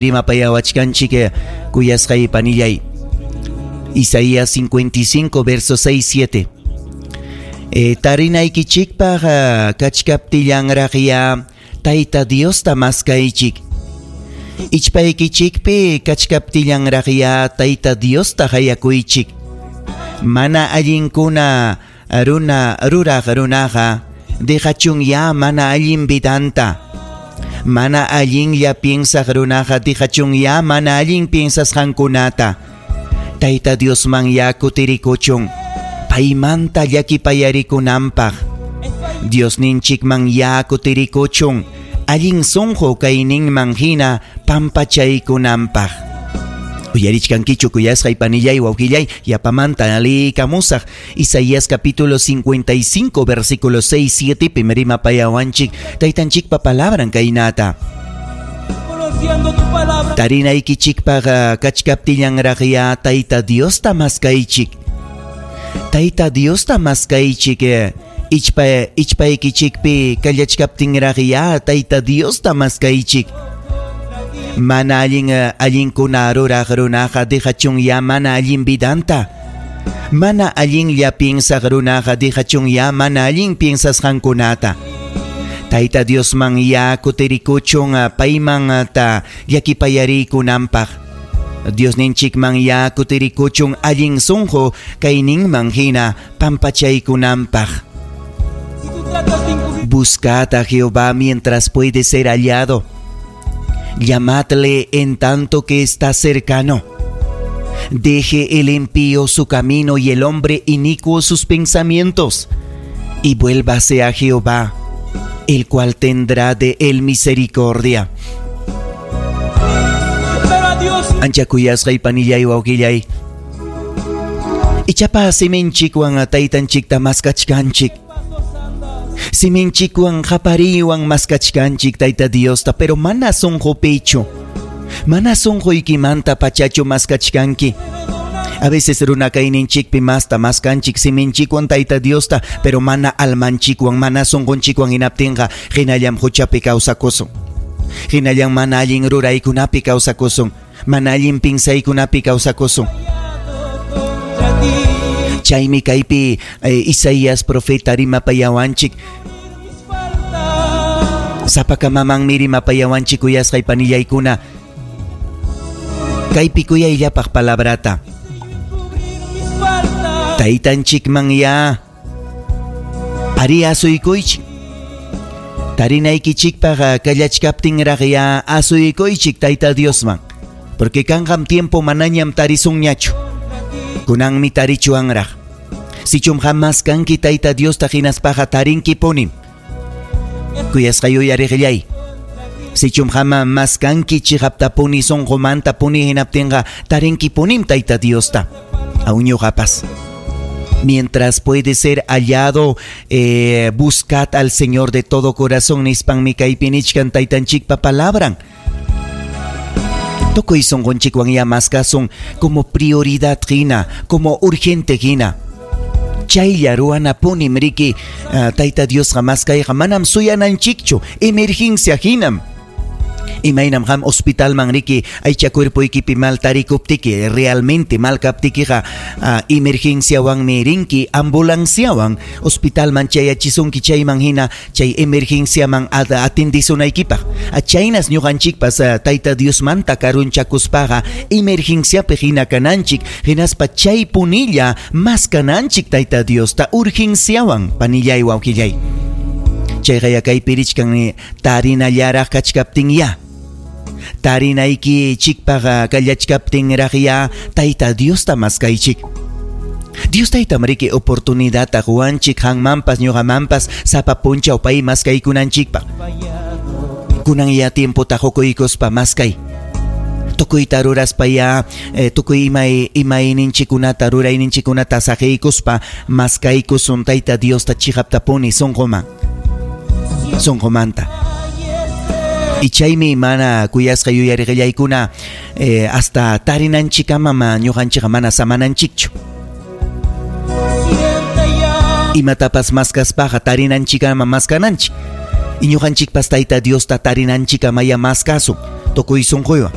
Rimapayawachkanchik kuyasqay panillay. Isaías 55 verso 6 7. Tarinaykichikpaq kachkaptillanraqya Tayta Diosta maskaychik. Ichpaykichikpi kachkaptillanraqya Tayta Diosta qayakuychik. Mana allinkuna runa ruraq runaqa dejachunya mana allin vidanta. Mana allinlla piensaq runaqa dejachunya mana allin piensasqankunata. Tayta Diosman ya kutirikuchun. Paymanta llakipayarikunanpaq. Diosninchikman ya kutirikuchun. Allin sunqu kayninman hina pampachaykunanpaq. Uyarichkankichu kuyasqay panillay wawqillay yapamanta liykamusaq Isaías capítulo 55 versículo 6 7 pi rimapayawanchik taytanchikpa palabran kaynata. Conociendo tu palabra. Tarinaykichikpaq kachkaptillanraqya Tayta Diosta maskaychik. Tayta Diosta maskaychik. Ichpaykichikpi kallachkaptinraqya Tayta Diosta maskaychik. Mana allin allinkuna ruraq runaqa dejachunya mana allin vidanta. Mana allinlla piensaq runaqa dejachunya mana allin piensasqankunata. Tayta Diosman ya kutirikuchun payman ta llakipayarikunanpaq. Diosninchikman ya kutirikuchun allin sunqu kayninman hina pampachaykunanpaq. Buscad a Jehová mientras puede ser hallado. Llamadle en tanto que está cercano. Deje el impío su camino y el hombre inicuo sus pensamientos, y vuélvase a Jehová, el cual tendrá de él misericordia. Ancha kuyasqay panillay wawqillay. Ichapa siminchikwan taytanchikta maskachkanchik. Siminchikwan qapariwan maskachkanchik Tayta Diosta, pero mana sunqupichu. Mana sunquykimanta pachachu maskachkanki. A veces runa kayninchikpi masta maskanchik siminchikwan Tayta Diosta, pero mana almanchikwan, mana sunqunchikwan hinaptinqa hinallam huchapi kawsakusun. Hinallam mana allin ruraykunapi kawsakusun. Mana allin pinsaykunapi kawsakusun. Chaymi kaypi Isaías profeta rimapayawanchik. Sapakamamanmi rimapayawanchik kuyasqay panillaykuna. Kaypi kuyayllapaq palabrata. Taytanchikman ya ari asuykuychik. Tarinaykichikpaq kallachkaptinraq ya asuykuychik Tayta Diosman. Porque kanqam tiempo manañam tarisunñachu. Kunanmi tarichuanraq. Sichum jamás kanki Tayta Diosta hinaspaqa tarinkipunim. Kuyasqay uyariqllay. Sichum jama maskanki chiqaptapuni sunqumanta puni hinaptinqa tarinkipunim Tayta Diosta. Aun ñuqapas. Mientras puede ser hallado, buscad al Señor de todo corazón nispanmi kaypi nichkan taytanchikpa palabran. Tukuy sunqunchikwan ya maskasun como prioridad hina, como urgente hina. Chaylla ruwanapunim riki Tayta Diosqa maskayqa manam suyananchikchu, emergencia hinam. Imaynam qam hospitalman riki aycha cuerpoykipi mal tarikuptiki, realmente mal kaptikiqa emergenciawanmi rinki, ambulanciawan hospitalman chayachisunki chayman hina chay emergenciaman atendisunaykipaq. Chaynas ñuqanchikpas Tayta Diosmanta karunchakuspaqa emergenciapi hina kananchik, hinaspa chay punilla maskananchik Tayta Diosta urgenciawan panillay wawqillay. Chayqa kaypi richkan tarinallaraq kachkaptin ya. Tarinayki chikpaqa kallachkaptinraq ya Tayta Diosta maskaychik. Dios taytam riki oportunidadta quwanchik qanmanpas ñuqamanpas sapa punchaw pay maskaykunanchikpaq. Kunan ya tiempota qukuykuspa maskay. Tukuyta ruraspa ya tukuy imayninchikkunata rurayninchikkunata saqiykuspa maskaykusun Tayta Diosta chiqaptapuni sunquman. Sunqumanta. Y chaymi mana kuyasqa yuyariqillaykuna hasta tarinanchikamama ñuqanchikqa mana samananchikchu. Imatapas maskaspaqa tarinanchikama maskananchik. Y ñuqanchikpas Tayta Diosta tarinanchikamaya maskasun. Tukuy sunquywan.